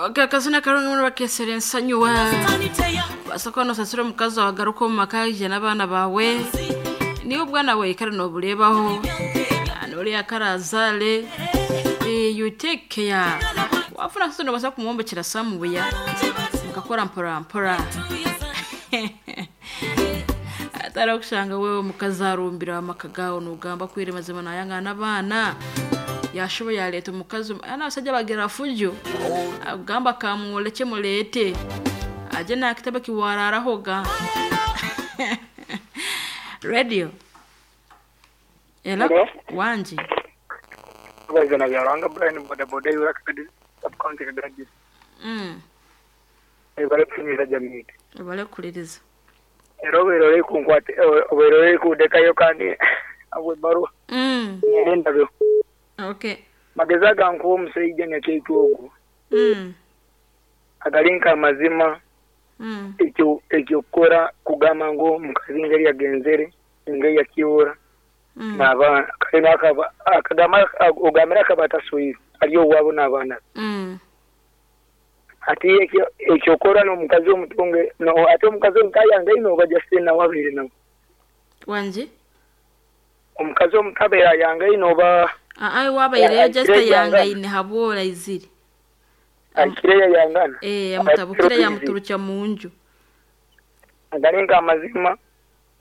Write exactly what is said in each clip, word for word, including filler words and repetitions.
Akazina karungi muno bakesera ensanyuwa basoko nosasira omukazi wawe agaruka omu maka ije n'abaana bawe niwe obwana bwawe kare noburebaho noriya karazale eh, you take care wafuna sasa nobasa kumwombekera samubuya mukakora mpora mpora atari okushanga wewe omukazi arumbira amaka gawe nogamba kwire mazima nayangana n'abaana yashoboye yaleeta omukazi ana abasajja bagira fujo agamba kamwoleke muleete aje nakitebe kiwararahoga radio Hello? Hello? Wanji. Bazana bya Rwanga Brian boda boda yura Kagadi sub county Kagadi district. Mm. Ebale kunyira jamii. Ebale kuliriza. Era obeera kunkwata obeera kundekayo kandi abwe baruwa Mm. ngenda byo. Okay. Magezi agankuwa omusajja nyakyaitu ogwo Mm. agali nk'amazima Mm. ekyo ekyokukora kugamba ngu omukazi ngeri yagenzere engeri yakiwura Mm. n'abaana kale n'akaba akagamba ogambira akaba ataswire ari owaabo n'abaana be. Mm. Ati ekyo ekyokora n'omukazi omutunge no ate omukazi omukayange ino oba Justine nawe abeire nawe Wanji. omukazi omutabeera ayange ino oba Ah, ai wabaire Ya- just akire yanga yangana. ine habwola iziri. akire yayangana Eh, yamutabukira yamuturukya munju. agali nk'amazima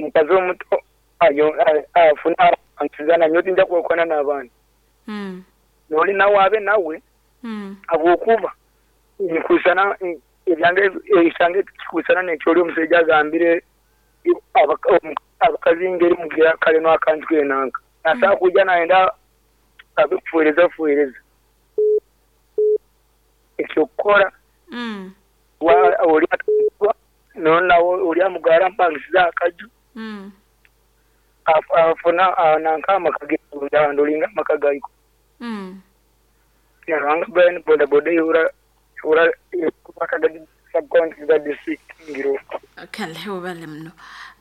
omukazi omuto ayo- a- afuna antizana nyo tinja kwekwana n'abaana Mm. noli nawe abe nawe Mm. habwokuba nkusana ebyange ekyange kikusana nekyoli omusajja agambire abaka- omu- abakazi ngeri mugira kale n'akantu kenanka nasaa kuja nayenda abikufuereza fuereza ekyokukora Mm. wa- oli nonawe oli amugara mpangisiza akaju Mm. af- afuna ah, nanka amaka ge ndolinga amaka gaiko Mm. Yarwanga Brian boda boda yura yura Kagadi sub-county Kagadi district ngiro Kale ubale muno.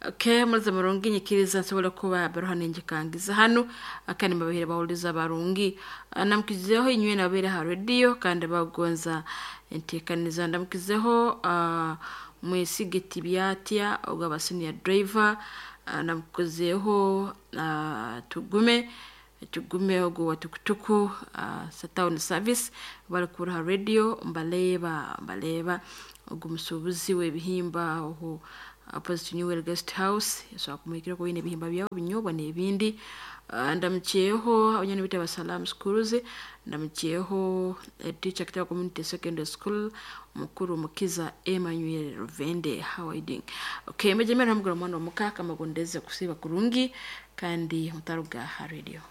Okay, muliza murungi nyikiriza nsobola kuba baruha ninjikangiza hano akandi mabahire bawuliza barungi namukizeho inywe nabere ha radio kandi bagonza entekaniza ndamukizeho uh, mwesige tibyatya ogaba senior driver uh, namukozeho uh, tugume tugume ogwo wa tukutuku uh, sa town service bari kuraha radio mbaleba mbaleba ogwo musuubuzi w'ebihimba oho opposite new Well guest house so akumwikira ko bine ebihimba byawo binyobwa n'ebindi uh, ndamukyeho abanyani bita basalam schools ndamukyeho eh, teacher kitaba community secondary school mukuru mukiza Emmanuel Ruvende. How are you doing? Okay, mejemera mugura mwana omuka kamagondeze kusiba kurungi kandi mutaruga ha radio.